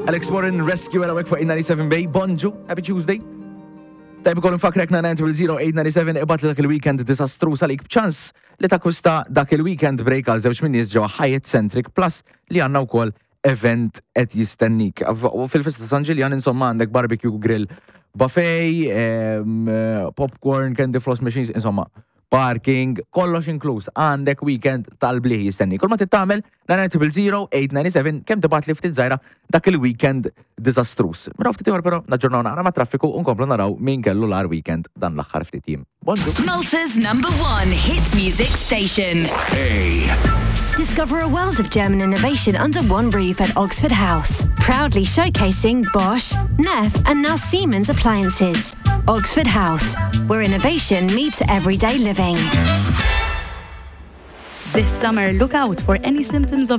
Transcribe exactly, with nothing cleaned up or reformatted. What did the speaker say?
Alex Warren, Rescue għarawek fuq eight ninety-seven Bay. Bonġu, happy Tuesday. Tajb ukoll nfakrek nine zero zero eight nine seven, ibgħatli dak il-weekend disastruż għalik b'ċans li takkwista dak il-weekend break għal żewġ min-nies ġewwa Hyatt Centric, plus li għandna wkoll event qed jistennik. U fil-festa ta' San Ġiljan, insomma, għandek barbecue grill buffet, em, popcorn, candy floss machines, insomma, parking, kollox inkluż. Għandek weekend tal-bliħ jistenni. Kull ma tagħmel, nine zero zero eight nine seven, kemm tibgħat li ftit żgħira dak il-weekend disastruż. Mela ftit ieħor però naġġornaw naqra ma' traffiku u nkomplu naraw min kellu l-agħar weekend dan l-aħħar ftit jiem. Bonġu. Malta's number one hit music station. A. Discover a world of German innovation under one roof at Oxford House. Proudly showcasing Bosch, Neff, and now Siemens appliances. Oxford House, where innovation meets everyday living. This summer, look out for any symptoms of